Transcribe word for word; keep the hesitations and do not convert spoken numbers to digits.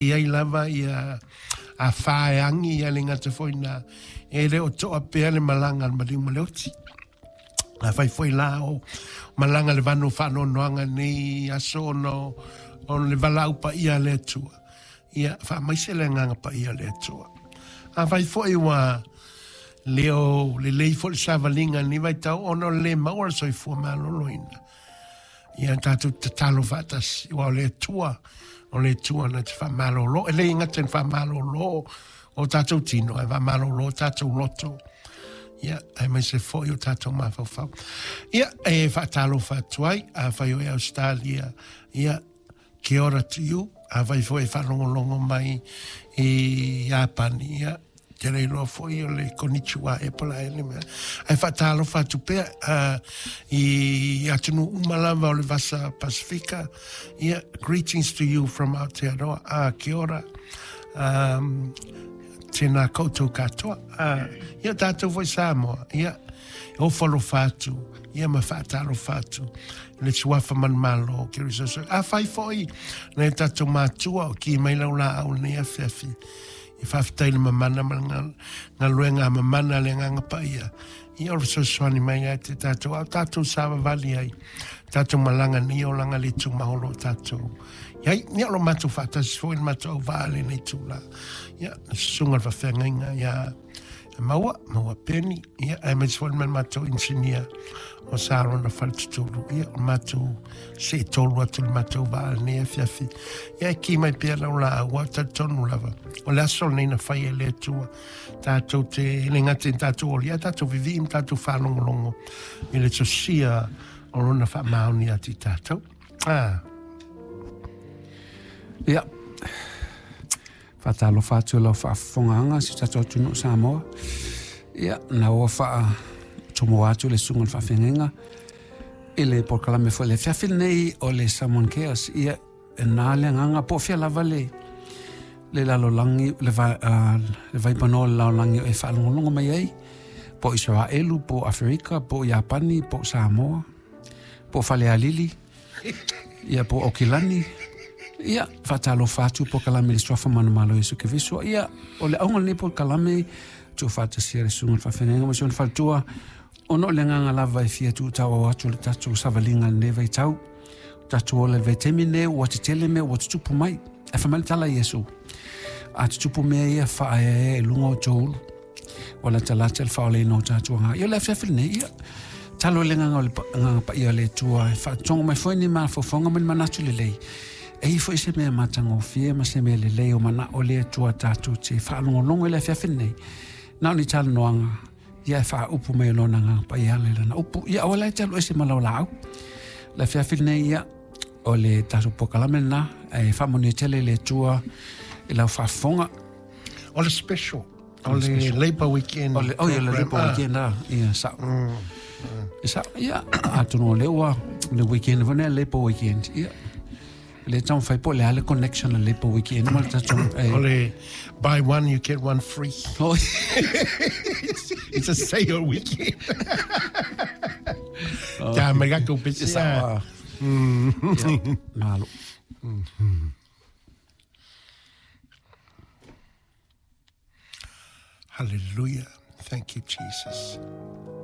I ai lava ia afā e agi ia le gata foi na e le o toa pea le malaga a le maliu ma le oti. Afai foi la o malaga le vanu faanoanoaga nei aso ona o le valaau paia a le Atua. Ia faamaise le agaga paia o le Atua. Afai foi ua le o lelei foi le savaliga i lenei vaitau ona o le lē maua le soifua maloloina. Ia tatou tatalo faatasi, aua o le Atua, o le Atua na te faamalolo. E le gata i le faamalolo o tatou tino, ae faamalolo o tatou loto. Ia, aemaise foi o tatou mafaufau. Ia, e faatalofa atu ai, afai o e Australia, ia, kia ora to you. Afai foi e faalogologo mai i Iapani, ia, te le iloa foi o le konnichiwa ea po o le a ea le mea. Ae faatalofa atu pea uh, i atunuu uma lava o le Vasa Pasifika. Ia, greetings to you from Aotearoa. Ah, kia ora. Um, tēnā koutou katoa. Ah, ia tātou foi Samoa. Ia, ofo alofa atu. Ia ma faatalofa atu. I le suafa manumalo o Keriso. Afai foi nai o tatou matua o ki mai lau laau i lenei afiafi. E faafetai i le mamana ma le galuega a mamana a le Agaga Paia, ia o le fesoasoani mai ia te tatou, a o tatou savavali ai, tatou malaga nei olaga le tumau o lo o tatou i ai. Ia o lo matou faatasi foi le matou auvaa i lenei itula. Ia, le susuga i le faafeagaiga ia Maua, Maua Peni, ia, aemaise foi ma le matou inisinia o Sarona Faletutulu, ia, o le matou seetolu atu i le matou vaa i lenei afiafi. Ia, e ki mai pea lau laau, aua e talitonu lava, o le aso lenei na fai e le Atua, tatou te, e le gata i tatou oli, ae tatou vivii ma tatou faalogologo i le tosia o lona faamaoni ia te i tatou. Ah. Ia, faatalofa atu i lau faafofogaaga si o tatou atunuu Samoa. Ia, na ua faatumua atu le susuga i le faafeagaiga i le polokalame foi i le afiafi lenei o le Samoan Cares. Ia, e na le agaga po o fea lava le le lalolagi, le, va, uh, le vaipanoa o le lalolagi o e faalogologo mai ai, po o Isaraelu, po o Aferika, po o Iapani, po o Samoa, po o Falealili, ia po o Okilani. Ia, faatalofa atu polokalame i le Suafa Manumalo Iesu Keriso. Ia, o le auga o lenei polokalame, tuufaatasia le susuga i le faafeagaiga ma si ona faletua, ona o le agaga lava e fia tuutauau atu le tatou savaliga i lenei vaitau. O tatou ola i le vaitaimi lenei, ua tetele mea ua tutupu mai. Ae fai mai le tala a Iesu, a tutupu mea ia faaeaea i luga o outou ulu, ua latalata le faaolaina o tatou aga. Ia o le afiafi lenei, ia, talo i le agaga o le agaga paia o le Atua e faatogo mai foi ni mafaufauga ma ni manatu lelei. E i ai foi se mea matagofie ma se mea lelei o manao le Atua tatou te faalogologo i le afiafi lenei. Na o ni talanoaga, ia e faaupu mai e Lona Agaga Paia ala i Lana upu. Ia aua la e te alu ese ma lau laau. Le afiafi lenei, ia, o le tatou polokalame lena, e faamanuia tele i le Atua i lau faafofoga. O le special, o le Labour Weekend. O le, oh, ia, le Labour Weekend, ah, ia, sao. Mm, mm. Sao, ia, atonu o lea ua, le weekend foi lea, Labour Weekend, ia. Le taumafai po o le a le connection a le Labour Weekend ma le tatou... O le buy one you get one free. Oh. It's a sale weekend. Kia mai ka kou pesi. Sao. Malo. Hallelujah. Thank you, Jesus.